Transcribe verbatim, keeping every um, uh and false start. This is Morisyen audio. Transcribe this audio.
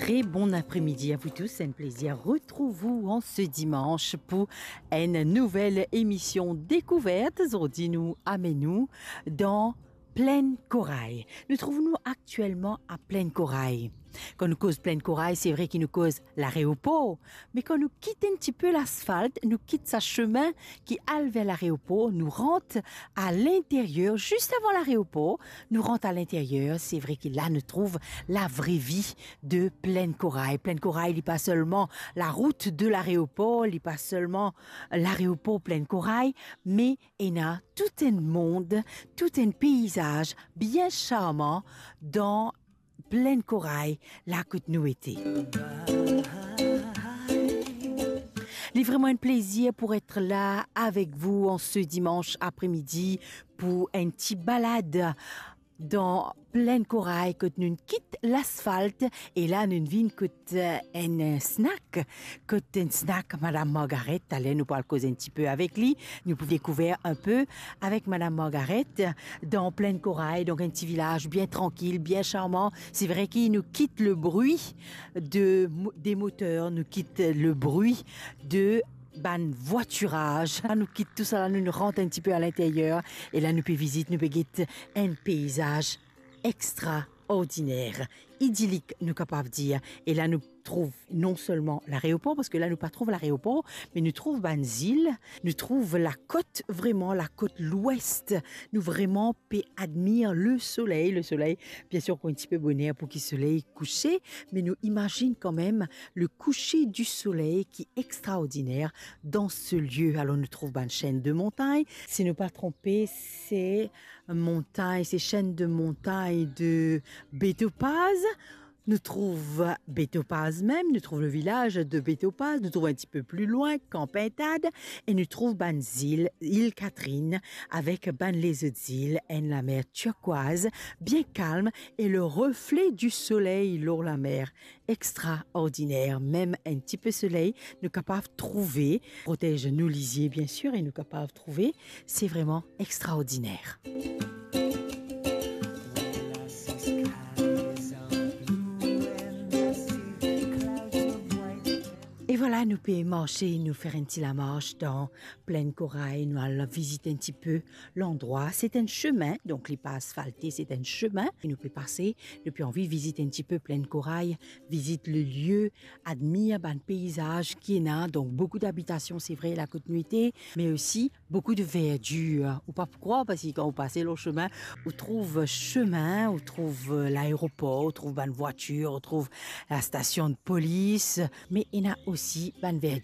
Très bon après-midi à vous tous, un plaisir retrouve vous en ce dimanche pour une nouvelle émission découverte. Zordi nou amenn nou dan Plaine Corail. Nou trouv nou aktielman a Plaine Corail. Kan nou koz Plaine Corail, se vre ki nou koz lareopor, me kan nou kit enn tipe lasfalt, nou kit sa sime ki al ver lareopor, nou rant a linteryer, zis avan lareopor, nou rant a linteryer, se vre ki la nou trouv lavre vi de Plaine Corail. Plaine Corail, li pa selman larout de lareopor, li pa selman lareopor Plaine Corail, me ena tou enn mond, tou enn peizaz bien sarman dan Plaine Corail, la kot nou ete. Li vreman enn plezir pou et la avek vou an se dimanch apremidi pou enn ti balad dan Plaine Corail kot nou kit lasfalt e la nou vinn kot, eh, enn snack. Kot enn snack Madam Margaret, taler nou pou al koz enn tipe avek li, nou pou dekouver enn pe avek Madam Margaret dan Plaine Corail, donk enn ti vilaz bien trankil, bien sarman. Se vre ki nou kit le bri de mo-, de moter, nou kit le bri de bann vwatiraz. La nou kit tou sa la, nou, nou rant enn tipe a linteryer e la nou pe vizit, nou pe get enn peizaz extraordiner, idilik, nou kapav dir. E la nou trouv non selman lareopor, parski la nou pa trouv lareopor, me nou trouv bann zil, nou trouv lakot, vreman lakot lwes. Nou vreman pe admir le soley. Le soley, biensir, ankor enn tipe boner pou ki soley kouse, me nou imazinn kanmem le coucher du soleil ki extraordiner dan se lie. Alor nou trouv bann senn de montagn. Si nou pa tronpe, se montagn, se senn de montagn de Beto Paz. Nou trouv Beto Paz mem, nou trouv le vilaz de Beto Paz, nou trouv enn tipe pli lwin Camp Pintade, e nou trouv bann zil, Île Catherine, avek bann lezot zil, enn lamer turquoise, bien kalm, e le refle du soley lor lamer, extraordiner. Mem enn tipe soley, nou kapav trouve, protez nou lizie, biensir, e nou kapav trouve, se vreman extraordiner. E vwala, nou pe marse, nou fer enn ti lamars dan Plaine Corail, nou al vizit enn tipe landrwa. Se enn sime, donk li pa asfalte, se enn sime. E nou pe pase, nou pe anvi vizit enn tipe Plaine Corail, vizit le lie, admir bann peizaz ki ena, donk boukou dabitasion, se vre, la kot nou ete, me osi boukou de verdir. Ou pa pou krwar, parski kan ou pase lor sime, ou trouv sime, ou trouv, euh, laeropor, ou trouv bann vwatir, ou trouv lastasion de polis, me ena osi bann verdir.